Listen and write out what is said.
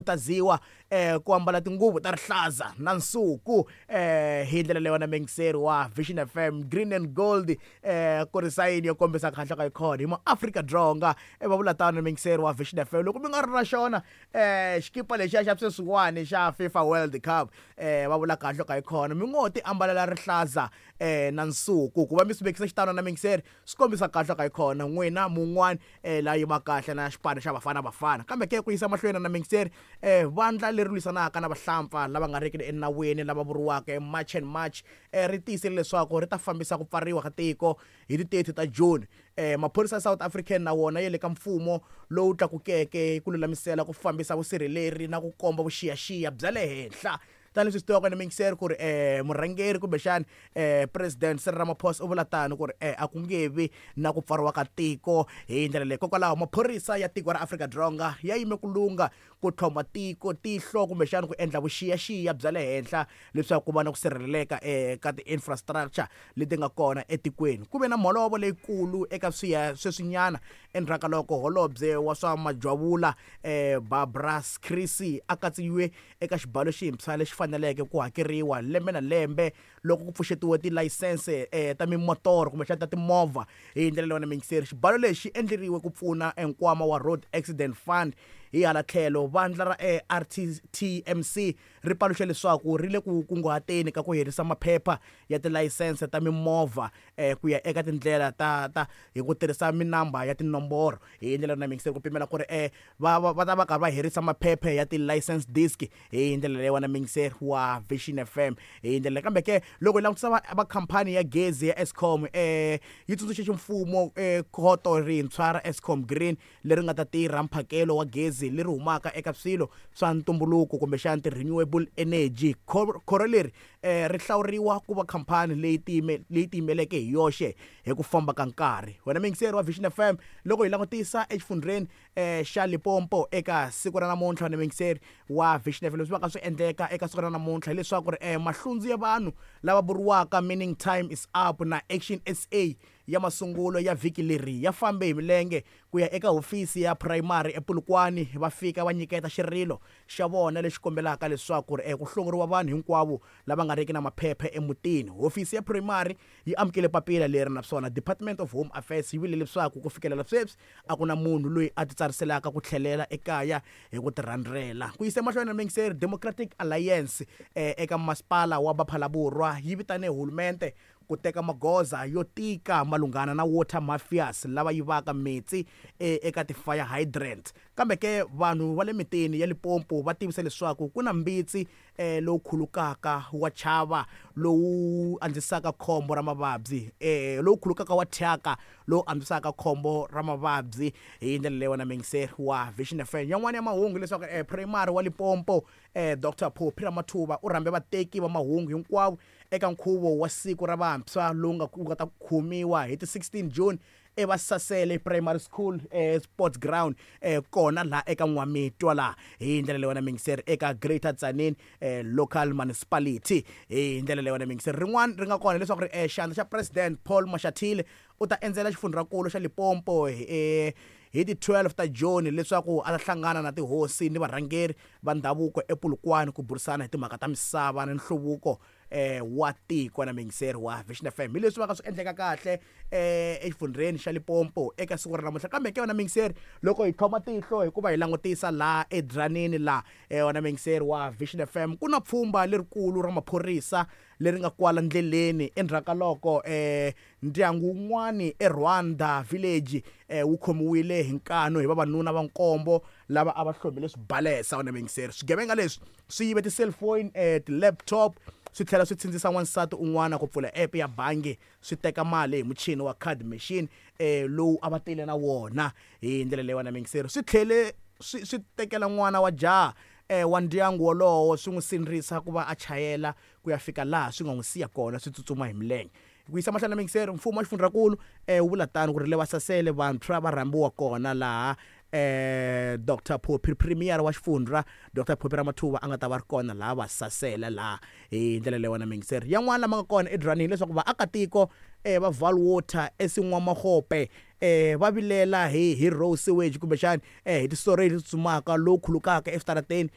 Khutaziwa ku ambala tinguvu ta rihlaza na nsuku hi ndlela leyi wena mingiseri wa Vision FM, green and gold, ku ri sayini yo kombisa kahle ka yikhona hi maAfrika Dzonga. Va vula tano, mingiseri wa Vision FM, loko mi nga ri na xona xikipa lexiya xa sweswiwani xa FIFA World Cup, va vula kahle ka yikhona mi ngo ti ambalela rihlaza na nsuku ku va mi swi vekisa xitano na mingiseri, swi kombisa kahle ka yikhona n'wina mun'wani la yima kahle na xipano xa Bafana Bafana. Kambe ke ku yisa mahlweni na mingiseri, vandla leri lwisanaka na vahlampfa lava nga riki enawini lava vuriwaka March and March ri tiyisile leswaku ri ta fambisa ku pfariwa ka tiko hi ti 30 ta June. Maphorisa ya South African na wona ya le ka mfumo lowu tlakukeke ku lulamisela ku fambisa vusirheleri na ku komba vuxiyaxiya bya le henhla, tanihileswi swi tiviwaka na mingiseri ku ri murhangeri kumbexani President Cyril Ramaphosa u vula tano ku ri a ku nge vi na ku pfariwa ka tiko hi ndlela leyi. Kokwalaho maphorisa ya tiko ra Afrika-Dzonga ya yime ku lunga ku tlhoma tiko tihlo kumbexani ku endla vuxiyaxiya bya le henhla leswaku ku va na ku sirheleleka ka ti-infrastructure leti nga kona etikweni. Ku ve na mholovo leyikulu eka swiya sweswinyana endzhaku ka loko holobye wa swa majwavula Barbara Creecy a katsiwe eka xibalo xintshwa lexi faneleke ku hakeriwa lembe na lembe loko ku pfuxetiwe tilayisense ta mimotoro kumbexana ta timovha. Hi ndlela leyi wena mingiseri, xibalo lexi xi endleriwe ku pfuna nkwama wa Road Accident Fund. Hi hala tlhelo, vandla ra RTMC ri paluxa leswaku ri le ku kunguhateni ka ku herisa maphepha ya tilayisense ta mimovha ku ya eka tindlela ta hi ku tirhisa minamba ya tinomboro. Hi ndlela na mingiseri, ku pimela ku ri va ta va karhi va herisa maphepha ya ti-license disc hi ndlela leyi wena mingiseri wa Vision FM. Hi ndlela, kambe ke loko hi langutisa va khampani ya gezi ya Eskom yi tsundzuxe ximfumo khoto rintshwa ra Eskom Green leri nga ta tirha mphakelo wa gezi leri humaka eka swilo swa ntumbuluko kumbexana ti-renewable energy. Khoro leri ri hlawuriwa ku va khampani leyi tiyimeleke hi yoxe hi ku famba ka nkarhi. Wena mingiseri wa Vision FM, loko hi langutisa exifundzheni xa Limpopo eka siku ra namuntlha, wena mingiseri wa Vision FM, leswi va ka swi endleka eka siku ra namuntlha hileswaku ri mahlundzu ya vanhu lava vuriwaka Meaning Time Is Up na Action SA ya masungulo ya vhiki leri ya fambe hi milenge ku ya eka hofisi ya primary ePolokwane, va fika va nyiketa xirilo xa vona lexi kombelaka leswaku ri ku hlongoriwa vanhu hinkwavo lava nga riki na maphepha emutini. Hofisi ya primary yi amukele papila leri, naswona Department of Home Affairs yi vule leswaku ku fikelela sweswi a ku na munhu loyi a titsariselaka ku tlhelela ekaya hi ku tirhandzela. Ku yisa emahlweni na mingiseri, Democratic Alliance eka masipala wa Ba-Phalaborwa yi vitane hulumente ku teka magoza yo tika malunghana na water mafias lava yivaka metsi eka ti-fire hydrant. Kambe ke vanhu va le mitini ya Limpopo va tivisa leswaku ku na mbitsi lowu khulukaka wa chava lowu andzisaka khombo ra mavabyi, lowu khulukaka wa thyaka lowu andzisaka khombo ra mavabyi. Hi ndlela leyi wena mingiseri wa Vision FM, yan'wana ya mahungu leswaku primary wa Limpopo Dr Phophi Ramathuva u rhambe vateki va mahungu hinkwavo eka nkhuvo wa siku ra vantshwa lowu nga wu nga ta khomiwa hi ti 16 June eVasasele Primary School sports ground kona laha eka N'wamitwa laha. Hi ndlela leyi wena mingiseri, eka Greater Tzaneen Local Municipality. Hi ndlela leyi wena mingiseri, rin'wana ri nga kona leswaku ri xandla xa President Paul Mashatile u ta endzela xifundzhankulu xa Limpopo hi ti 12 ta June leswaku a ta hlangana na tihosi ni varhangeri va ndhavuko ePolokwane ku burisana hi timhaka ta misava na nhluvuko wa tiko. Na mingiseri wa Vision FM, hi leswi va ka swi endleka kahle exifundzheni xa Limpopo eka siku ra namuntlha. Kambe ke wena mingiseri, loko hi tlhoma tihlo hikuva hi langutisa laha eDzanini laha, wena mingiseri wa Vision FM, ku na pfhumba lerikulu ra maphorisa leri nga kwala ndleleni endzhaku ka loko ndyangu wun'wani eRwanda Village wu khomiwile hi nkanu hi vavanuna va nkombo lava a va hlomile swibalesa. Wena mingiseri, swigevenga leswi swi yive ti-cellphone, ti-laptop, swi tlhela swi tsindzisa n'wansati un'wana ku pfula app ya bangi, swi teka mali hi muchini wa card machine lowu a va tile na wona. Hi ndlela leyi wena mingiseri, swi tlhele swi tekela n'wana wa jaha wa ndyangu wolowo, swi n'wi sindzisa ku va a chayela ku ya fika laha swi nga n'wi siya kona, swi tsutsuma hi milenge. Ku yisa mahlweni na mingiseri, mfumo wa xifundzhankulu wu vula tano ku ri le Vasasele vantshwa va rhambiwa kona laha Dr Phophi, premier wa xifundza Dr Phophi Ramathuva a nga ta va ri kona laha Vasasele laha. Hi ndlela leyi wena mingiseri, yan'wana lama nga kona eDzanini leswaku vaakatiko va Vaalwater eSin'wamagope va vilela hi raw sewage kumbexani hi ti-sewerage leti tsutsumaka lowu khulukaka eswitarateni.